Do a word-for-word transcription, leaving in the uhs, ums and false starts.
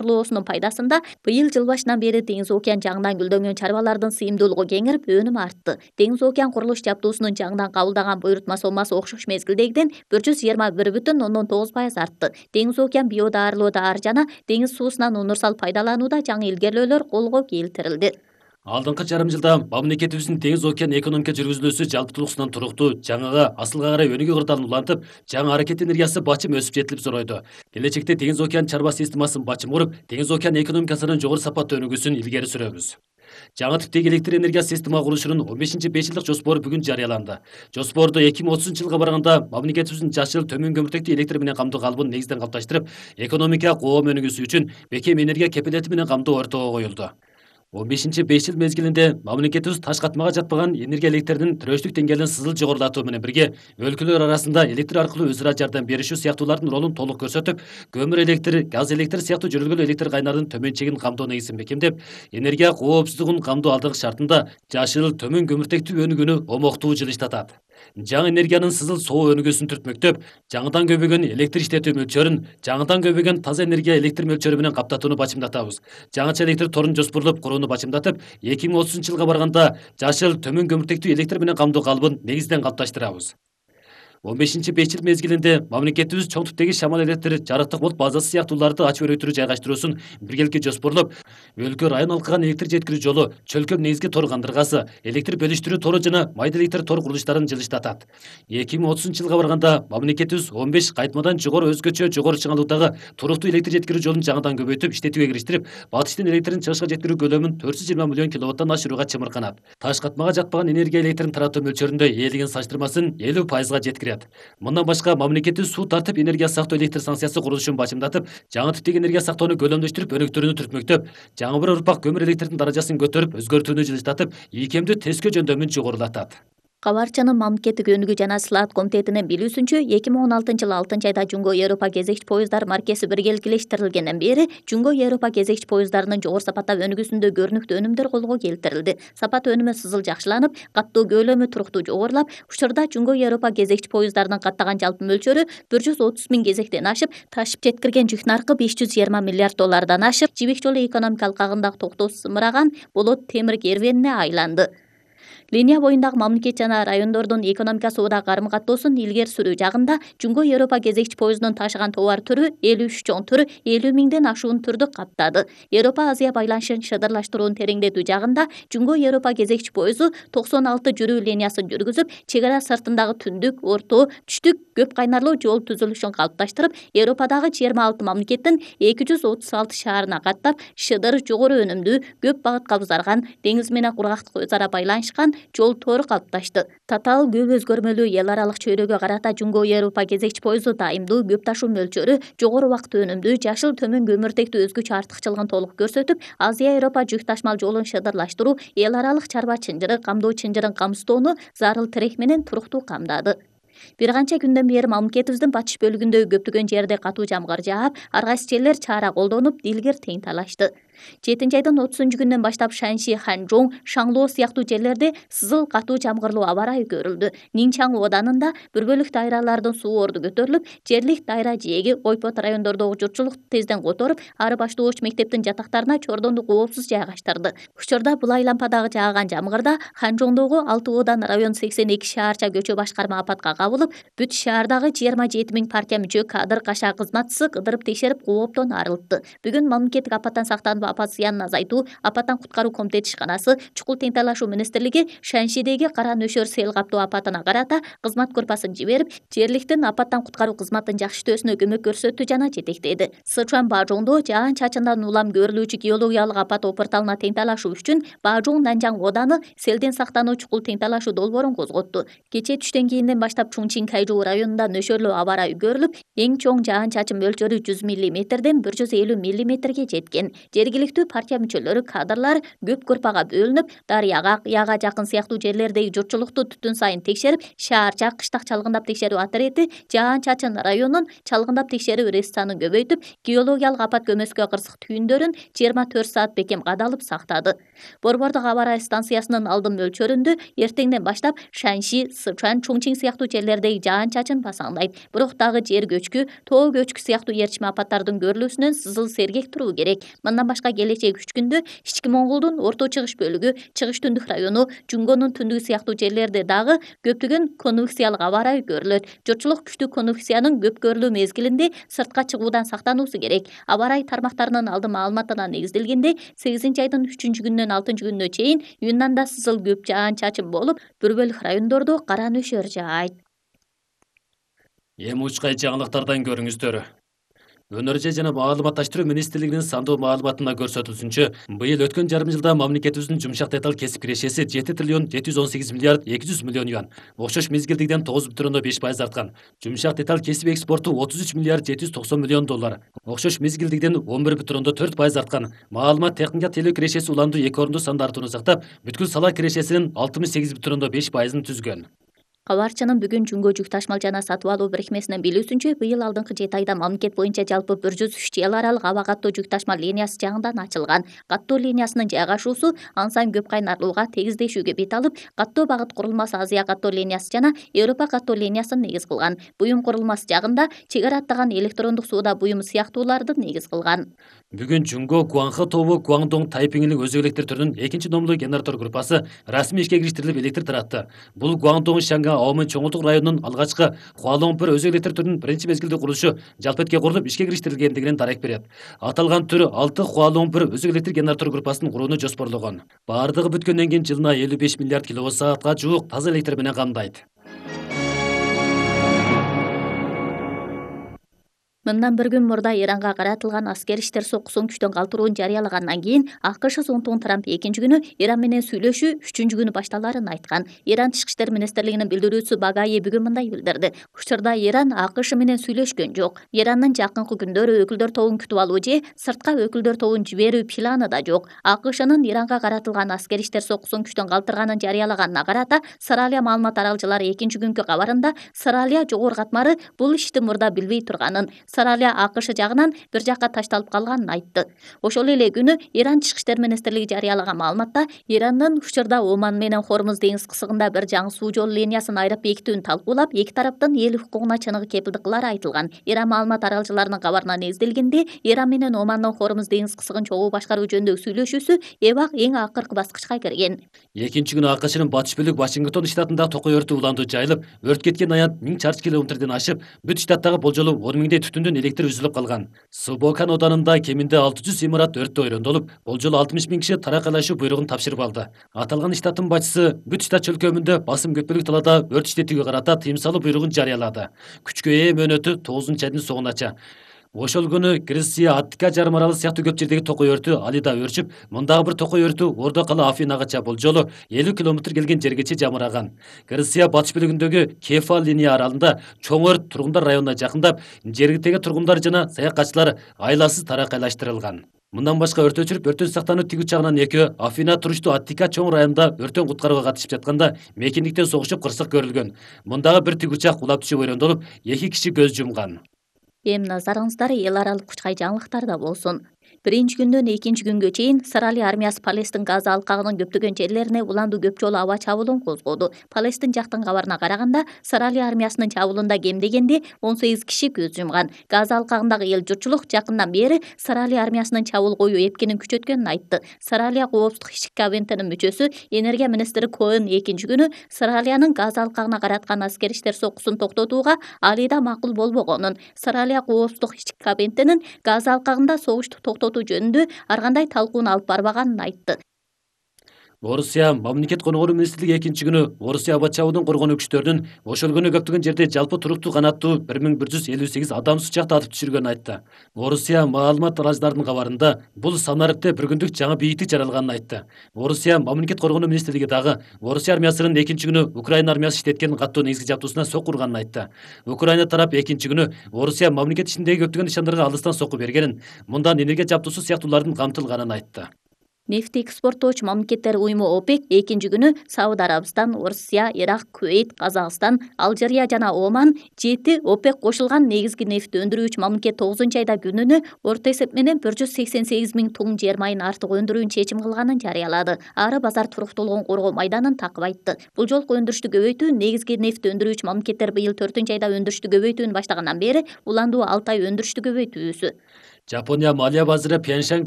курулуусунун пайдасында быйыл жыл башынан бери Деңиз океан жаңынан гүлдөнгөн чарбалардын сыйымдуулугу кеңирип, өнүмү артты. Деңиз океан курулуш жабдуусунун жаңынан кабылдаган буйрутма соммасы окшош мезгилдегиден бир жүз жыйырма бир бүтүн ондон тогуз пайыз артты. Деңиз океан биодаарылоо даар жана деңиз суусунан универсал пайдаланууда жаңы илгерилөөлөр колго келтирилди. Алдыңкы жарым жылда мамлекетибиздин Деңиз океан экономика жүргүзүлүүсү жалпылыксынан туруктуу, жаңыга асылга карай өнүгүү кырдаалын улантып, жаңы аракет энергиясы бачым өсүп жетилип зоройду. Келечекте Деңиз океан чарба системасын бачым куруп, Деңиз океан экономикасынын жогору сапаттуу өнүгүүсүн илгери сүрөбүз. Жаңы типтеги электр энергия система курулушунун он бешинчи беш жылдык жоспору бүгүн жарыяланды. Жоспорду эки миң отузунчу жылга барганда мамлекетибиздин жашыл төмөн көмүртектүү электр менен камтуу калыбын негизден калыпташтырып, экономика коом өнүгүүсү үчүн бекем энергия кепилети менен камтоо ортого коюлду. он бешинчи беш жыл мезгилинде мамлекетибиз таш катмага жатпаган энергия электрдин төрөчтүк деңгээлин сызыл жогорулатуу менен бирге өлкөлөр арасында электр аркылуу өз ара жардам беришүү сыяктуулардын ролун толук көрсөтүп, көмүр электр, газ электр сыяктуу жөнөлгөн электр кайнарын төмөн чегин камтоо негизин бекемдеп, энергия коопсуздугун камтоо алдыгы шартында жашыл төмөн көмүртектүү өнүгүүнү омоктуу жылыштатат. Жаңы энергиянын сызыл соо өнүгүүсүн түртмөктөп, жаңыдан көбөгөн электр иштетүү мөлчөрүн жаңыдан көбөгөн таза энергия электр мөлчөрү менен каптатууну бачымдатабыз. Жаңыча электр торун жоспорлоп курууну бачымдатып, эки миң отузунчу жылга барганда жашыл төмөн көмүртектүү электр менен камтоо калыбын негизден калыпташтырабыз. он бешинчи беш жыл мезгилинде мамлекетибиз чоң типтеги шамал электр, жарыктык бут базасы сыяктууларды ачып өрөйтүрүү жайгаштыруусун биргеликте жоспорлоп, өлкө район алкаган электр жеткирүү жолу, чөлкөм негизги тор кандыргасы, электр бөлүштүрүү тору жана майда электр тор курулуштарын жылыштатат. эки миң отузунчу жылга барганда мамлекетибиз он беш кайтмадан жогору өзгөчө жогору чыңалуудагы туруктуу электр жеткирүү жолун жаңыдан көбөйтүп, иштетүүгө кириштирип, батыштын электрин чыгышка жеткирүү көлөмүн төрт жүз жыйырма миллион киловаттан ашырууга чымырканат. Таш катмага жатпаган энергия электрин таратуу мөлчөрүндө ээлигин салыштырмасын элүү пайызга жеткирет. Мындан башка мамлекетибиз суу тартып энергия сактоо электр станциясы курулушун бачымдатып, жаңы типтеги энергия сактоону көлөмдөштүрүп, өнүктүрүүнү түртмөктөп, жаңы бир урпак көмүр электрдин даражасын көтөрүп, өзгөртүүнү жылыштатып, ийкемдүү тескөө жөндөмүн жогорулатат. Кабарчанын мамлекеттик өнүгүү жана сылаат комитетинин билүүсүнчө, эки миң он алтынчы жылы алтынчы айда Жумго Европа кезекчи поездар маркеси биргеликилештирилгенден бери Жумго Европа кезекчи поездарынын жогору сапатта өнүгүүсүндө көрүнүктүү өнүмдөр колго келтирилди. Сапат өнүмү сызыл жакшыланып, каттоо көлөмү туруктуу жогорулап, учурда Жумго Европа кезекчи поездарынын каттаган жалпы мөлчөрү бир жүз отуз миң кезектен ашып, ташып жеткирген жүк наркы беш жүз жыйырма миллиард доллардан ашып, Жибек жолу экономика алкагындагы токтоосуз зымыраган болот темир кервенине айланды. Линия боюндагы мамлекет жана райондордун экономика соода карым каттоосун илгери сүрүү жагында Жумго Европа кезекчи поездунун ташыган товар түрү элүү үч чоң түр элүү миңден ашуун түрдү каптады. Европа Азия байланышын шыдырлаштырууну тереңдетүү жагында Жумго Европа кезекчи поезду токсон алты жүрүү линиясын жүргүзүп, чек ара сыртындагы түндүк, орто, түштүк көп кайнарлуу жол түзүлүшүн калыпташтырып, Европадагы жыйырма алты мамлекеттин эки жүз отуз алты шаарына каттап, шыдыр, жогору өнүмдүү, көп багытка узарган, деңиз менен кургактык өз ара байланышкан жол тору калыпташты. Татаал көп өзгөрмөлүү эл аралык чөйрөгө карата Жумго Европа кезекчи поезду дайымдуу, көп ташуу мөлчөрү, жогору убакыт өнүмдүү, жашыл төмөн көмүртектүү өзгөчө артыкчылыгын толук көрсөтүп, Азия Европа жүк ташмал жолун шыдырлаштыруу, эл аралык чарба чынжыры, камдоо чынжырын камсыздоону зарыл тирек менен туруктуу камдады. Бир канча күндөн бери мамлекетибиздин батыш бөлүгүндөгү көптөгөн жерде катуу жамгыр жаап, ар кайсы жерлер чаара колдонуп, дилгир тең талашты. жетинчи айдын отузунчу күнүнөн баштап Шаньши, Ханчжоу, Шанлоо сыяктуу жерлерде сызыл катуу жамгырлуу аба ырайы көрүлдү. Нинчан оданында бир бөлүк дайралардын суу орду көтөрүлүп, жерлик дайра жээги Ойпот райондордогу журтчулукту тезден которуп, ары баштоочу мектептин жатактарына чордонду коопсуз жайгаштырды. Учурда Булай лампадагы жааган жамгырда Ханчжоудогу алты одан район сексен эки шаарча көчө башкарма апатка кабылып, бүт шаардагы жыйырма жети миң партия мүчө кадр кашаа кызматчысы кыдырып текшерип, кооптон арылтты. Бүгүн мамлекеттик апаттан сактануу апат зыянын азайтуу, апаттан куткаруу комитети ишканасы, чукул тең талашуу министрлиги Шаньшидеги кара нөшөр сел каптоо апатына карата кызмат группасын жиберип, жергиликтин апаттан куткаруу кызматын жакшыртүүсүнө көмөк көрсөттү жана жетектеди. Сычуан Бажоңдо жаан-чачындан улам көрүлүүчү геологиялык апат опурталына тең талашуу үчүн Бажоң Нанжаң ооданы селден сактануу чукул тең талашуу долбоорун козготту. Кечээ түштөн кийинден баштап Чунчин Кайжуу районунда нөшөрлүү аба ырайы көрүлүп, эң чоң жаан-чачын мөлчөрү жүз миллиметрден бир жүз элүү миллиметрге жеткен. Жергиликтүү жергиликтүү партия мүчөлөрү, кадрлар көп группага бөлүнүп, Дарыяга, Яга жакын сыяктуу жерлердеги журтчулукту түтүн сайын текшерип, шаарча, кыштак чалгындап текшерүү отряди жаан-чачын районун чалгындап текшерүү ресторанын көбөйтүп, геологиялык апат көмөскө кырсык түйүндөрүн жыйырма төрт саат бекем кадалып сактады. Борбордук аба ырайы станциясынын алдын мөлчөрүндө эртеңден баштап Шанши, Сычуан, Чуңчиң сыяктуу жерлердеги жаан-чачын басаңдайт. Бирок дагы жер көчкү, тоо көчкү сыяктуу ээрчме апаттардын көрүлүүсүнөн сызыл сергек туруу керек. Мындан башка келечек үч күндө Ички Моңголдун Орто Чыгыш бөлүгү, Чыгыш Түндүк району, Жунгонун түндүгү сыяктуу жерлерде дагы көптөгөн конвекциялык аба ырайы көрүлөт. Журтчулук күчтүү конвекциянын көп көрүлүү мезгилинде сыртка чыгуудан сактануусу керек. Аба ырайы тармактарынын алдын маалыматына негизделгенде сегизинчи айдын үчүнчү күнүнөн алтынчы күнүнө чейин Юннанда сызыл көп жаан-чачын болуп, бир бөлүк райондордо кара нөшөр жаайт. Эми учкай жаңылыктардан көрүңүздөр. Өнөр жана маалыматташтыруу министрлигинин сандуу маалыматында көрсөтүлсүнчө, быйыл өткөн жарым жылда мамлекетибиздин жумшак деталь кесип кирешеси жети триллион жети жүз он сегиз миллиард эки жүз миллион юан, окшош мезгилдегиден тогуз бүтүн ондон беш пайыз арткан. Жумшак деталь кесип экспорту отуз үч миллиард жети жүз токсон миллион доллар, окшош мезгилдегиден он бир бүтүн ондон төрт пайыз арткан. Маалымат техника телөө кирешеси уланду эки орунду санды артууну сактап, бүткүл сала кирешесинин алтымыш сегиз бүтүн ондон беш пайызын түзгөн. Кабарчынын бүгүн Жунго жүк ташмал жана сатып алуу бирикмесинин билүүсүнчө, быйыл алдыңкы жети айда мамлекет боюнча жалпы бир жүз үч эл аралык аба каттоо жүк ташмал линиясы жаңыдан ачылган. Каттоо линиясынын жайгашуусу ансайн көп кайнарлууга тегиздешүүгө бет алып, каттоо багыт курулмасы Азия каттоо линиясы жана Европа каттоо линиясын негиз кылган. Буюм курулмасы жагында чек ара аттаган электрондук сууда буюм сыяктууларды негиз кылган. Бүгүн Жунго, Гуанхэ тобу, Гуандong, Тайпиңилик өзөк электр түрүнүн экинчи номерлуу генератор группасы расмий ишке кириштирилип электр таратты. Бул Гуандong, Шанга, Аомэн чоңулдук районунун алгачкы Хуалоңпур өзөк электр түрүнүн биринчи мезгилде курулушу жалпетке курулуп ишке кириштирилгендигинен дарек берет. Аталган түр алты Хуалоңпур өзөк электр генератор группасын курууну жоспорлогон. Бардыгы бүткөндөн кийин жылына элүү беш миллиард киловатт саатка жуук таза электр менен камдайт. Мындан бир күн мурда Иранга каратылган аскер иштер сокусун күчтөн калтырууну жарыялагандан кийин АКШ Зонтун Трамп экинчи күнү Иран менен сүйлөшүү үчүнчү күнү башталарын айткан. Иран Тышкы иштер министрлигинин билдирүүчүсү Багаи бүгүн мындай билдирди. Учурда Иран АКШ менен сүйлөшкөн жок. Ирандын жакынкы күндөрү өкүлдөр тобун күтүп алуу же сыртка өкүлдөр тобун жиберүү планы да жок. АКШнын Иранга каратылган аскер иштер сокусун күчтөн калтырганын жарыялаганына карата Сыралия маалымат аралчылары экинчи күнкү кабарында Сыралия жогорку катмары бул ишти мурда билбей турганын, Сыралия АКШ жагынан бир жакка ташталып калганын айтты. Ошол эле күнү Иран Тышкы иштер министрлиги жарыялаган маалыматта Ирандын учурда Оман менен Хормуз деңиз кысыгында бир жаңы суу жолу линиясын айрып бекитүүнү талкуулап, эки тараптын эл укугуна чыныгы кепилдик кылары айтылган. Иран маалымат аралчыларынын кабарына негизделгенде, Иран менен Омандын Хормуз деңиз кысыгын чогуу башкаруу жөнүндөгү сүйлөшүүсү эбак эң акыркы баскычка кирген. Экинчи күнү АКШнын батыш бөлүк Вашингтон штатында токой өртү уланду жайылып, өрт кеткен аянт миң чарчы километрден ашып, бүт штаттагы болжолу он миңдей түтүндүн электр үзүлүп калган. Субокан оданында кеминде алты жүз имарат өрттө ойрондолуп, болжолу алтымыш миң киши таракайлашуу буйругун тапшырып алды. Аталган штаттын башчысы бүт штат чөлкөмүндө басым көпөлүк талаада өрт иштетүүгө карата тыйым салуу буйругун жарыялады. Күчкө ээ мөөнөтү тогузунчу айдын соңунача. Ошол күнү Греция, Аттика жарым аралы сыяктуу көп жердеги токой өртү Алида өрчүп, мындагы бир токой өртү Ордо кала Афинагача болжолу элүү километр келген жергече жамыраган. Греция батыш бөлүгүндөгү Кефал линия аралында чоң өрт тургундар районуна жакындап, жергиликтеги тургундар жана саякатчылар айласыз таракайлаштырылган. Мындан башка өрт өчүрүп, өрттөн сактануу тиг учагынан экөө Афина туруштуу Аттика чоң районунда өрттөн куткарууга катышып жатканда мекендиктен согушуп кырсык көрүлгөн. Мындагы бир тиг учак кулап түшүп ойрондолуп, эки киши көз жумган. Эми назарыңыздар эл аралык учкай жаңылыктарда болсун. Биринчи күндөн экинчи күнгө чейин Сыралия армиясы Палестин Газа алкагынын көптөгөн жерлерине уланду көп жолу аба чабуулун козгоду. Палестин жактын кабарына караганда, Сыралия армиясынын чабуулунда кем дегенде он сегиз киши көз жумган. Газа алкагындагы эл журтчулук жакындан бери Сыралия армиясынын чабуул коюу эпкенин күчөткөнүн айтты. Сыралия коопсуздук ишчи кабинетинин мүчөсү энергия министри Коэн экинчи күнү Сыралиянын Газа алкагына караткан аскер иштер сокусун токтотууга алида макул болбогонун, Сыралия коопсуздук ишчи кабинетинин Газа алкагында согушту токтотуу жөнүндө ар кандай талкууну алып барбаганын айтты. Орусия мамлекет коногору министрлиги экинчи күнү Орусия аба чабуудун коргонуу күчтөрүнүн ошолгөнү көптөгөн жерде жалпы туруктуу канаттуу бир миң бир жүз элүү сегиз адам сучакта атып түшүргөнүн айтты. Орусия маалымат тараачыларынын кабарында бул санарыкта бир күндүк жаңы бийиктик жаралганын айтты. Орусия мамлекет коргонуу министрлиги дагы Орусия армиясынын экинчи күнү Украина армиясы иштеткен каттуу негизги жабдуусуна сокку урганын айтты. Украина тарап экинчи күнү Орусия мамлекет ичиндеги көптөгөн нышандарга алыстан сокку бергенин, мындан энергия жабдуусу сыяктуулардын камтылганын айтты. Нефти экспорттоочу мамлекеттер уюму ОПЕК экинчи күнү Сауд Арабистан, Орусия, Ирак, Кувейт, Казакстан, Алжирия жана Оман жети ОПЕК кошулган негизги нефть өндүрүүчү мамлекет тогузунчу айда күнүнө орто эсеп менен бір жүз сексен сегиз миң тонн жер майын артык өндүрүүнү чечим кылганын жарыялады. Ары базар туруктуулугун коргоо майданын такып айтты. Бул жолку өндүрүштү көбөйтүү негизги нефть өндүрүүчү мамлекеттер быйыл төртүнчү айда өндүрүштү көбөйтүүнү баштагандан бери уландуу алты ай өндүрүштү көбөйтүүсү. Жапония малия базары Пхенчхан